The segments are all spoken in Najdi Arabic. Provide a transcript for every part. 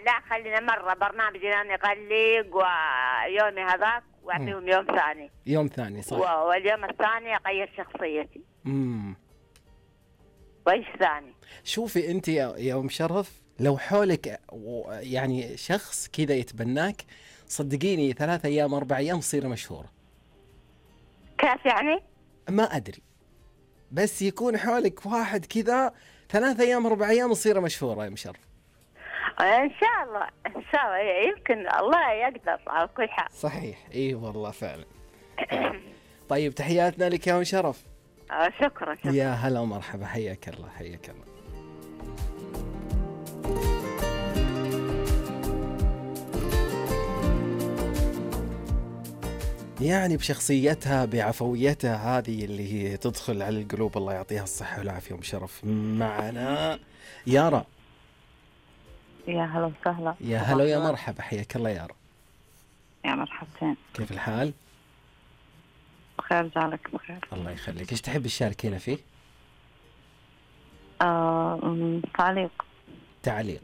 لا خلينا مرة برنامج أنا أغلق ويومي هذاك وأعطيهم يوم ثاني. يوم ثاني صح. واليوم الثاني أغير شخصيتي. وإيش ثاني؟ شوفي أنت يا أم شرف، لو حولك يعني شخص كذا يتبناك، صدقيني 3 أيام 4 أيام تصير مشهورة. كيف يعني؟ ما أدري، بس يكون حولك واحد كذا 3 أيام 4 أيام تصير مشهورة يا أم شرف. إن شاء الله إن شاء الله، يمكن الله يقدر على كل حال. صحيح، إيه والله فعلا. طيب تحياتنا لك يا أم شرف. شكرا. يا هلا ومرحبا، حياك الله حياك الله. يعني بشخصيتها بعفويتها هذه اللي هي تدخل على القلوب، الله يعطيها الصحة والعافية. أم شرف معنا يارا. يا هلا وسهلا. يا هلا ويا مرحبا، حياك الله يارا. يا مرحبتين. كيف الحال؟ بخير، جعلك بخير. الله يخليك. ايش تحب تشاركينا فيه؟ تعليق.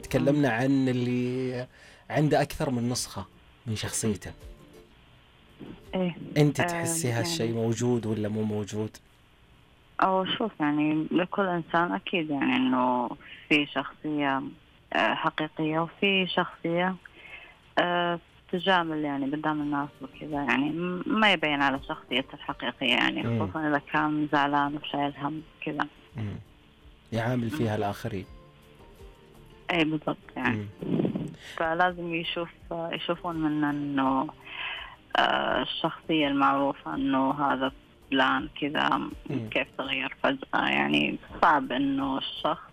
تكلمنا عن اللي عنده أكثر من نسخة من شخصيته. إيه؟ أنت تحسي هالشيء موجود ولا مو موجود؟ أو شوف، يعني لكل إنسان أكيد يعني إنه في شخصية حقيقية وفي شخصية تجامل يعني قدام الناس وكذا، يعني ما يبين على شخصيته الحقيقية، يعني خصوصا إذا كان زعلان وشايل هم كذا يعامل فيها الآخرين. أي بالضبط يعني. فلازم يشوفون منا إنه الشخصية المعروفة إنه هذا فلان كذا كيف تغير فجأة. يعني صعب إنه الشخص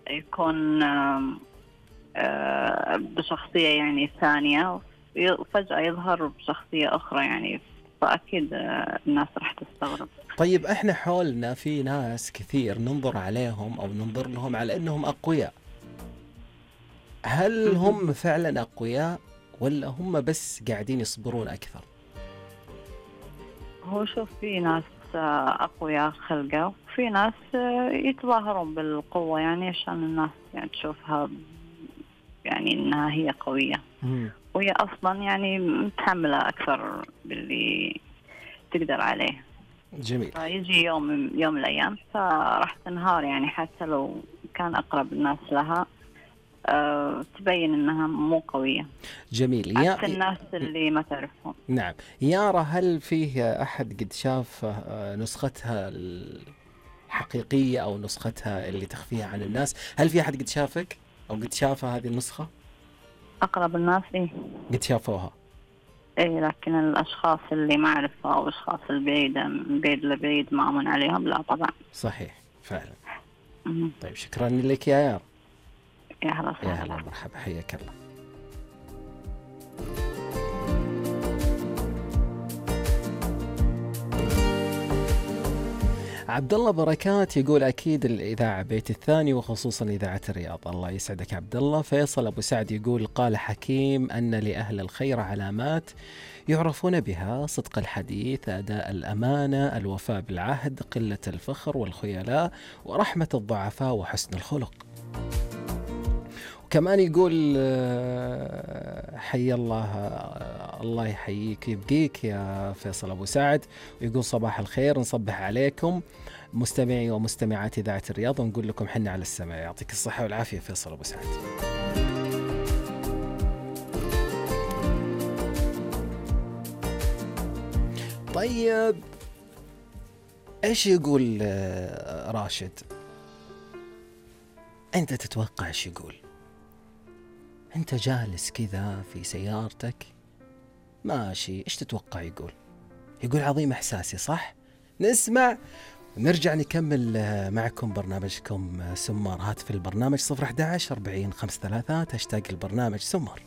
يكون بشخصية يعني ثانية وفجأة يظهر بشخصية أخرى، يعني فأكيد الناس راح تستغرب. طيب احنا حولنا في ناس كثير ننظر عليهم أو ننظر لهم على أنهم أقوياء، هل هم فعلا أقوياء ولا هم بس قاعدين يصبرون أكثر؟ هو شوف، في ناس أقوياء خلقة وفي ناس يتظاهرون بالقوة يعني عشان الناس يعني تشوفها يعني إنها هي قوية، وهي أصلا يعني متحملة أكثر باللي تقدر عليه. جميل. فيجي يوم من الأيام فراح تنهار، يعني حتى لو كان أقرب الناس لها تبين إنها مو قوية. جميل. عكس الناس اللي ما تعرفهم. نعم. يارا، هل فيه أحد قد شاف نسختها الحقيقية أو نسختها اللي تخفيها عن الناس؟ هل في أحد قد شافك أو قد شافها هذه النسخة؟ أقرب الناس إيه قد شافوها. إيه، لكن الأشخاص اللي ما أعرفها أو الأشخاص البعيدة من بعيد لبعيد ما أمن عليهم، لا طبعا. صحيح فعلا. طيب شكرا لك يا يارا. يا هلا يا هلا مرحبا، حياك الله. عبد الله بركات يقول أكيد الإذاعة بيت الثاني وخصوصا إذاعة الرياض. الله يسعدك عبد الله. فيصل أبو سعد يقول قال حكيم أن لأهل الخير علامات يعرفون بها: صدق الحديث، أداء الأمانة، الوفاء بالعهد، قلة الفخر والخيلاء، ورحمة الضعفاء، وحسن الخلق. كمان يقول حي الله، الله يحييك يبقيك يا فيصل أبو سعد، ويقول صباح الخير، نصبح عليكم مستمعي ومستمعات إذاعة الرياض ونقول لكم حنا على السماء. يعطيك الصحة والعافية فيصل أبو سعد. طيب إيش يقول راشد؟ أنت تتوقع إيش يقول؟ أنت جالس كذا في سيارتك ماشي، إيش تتوقع يقول؟ يقول عظيم إحساسي، صح؟ نسمع ونرجع نكمل معكم برنامجكم سمار. هاتف البرنامج 011 40 53 هاشتاج البرنامج سمار.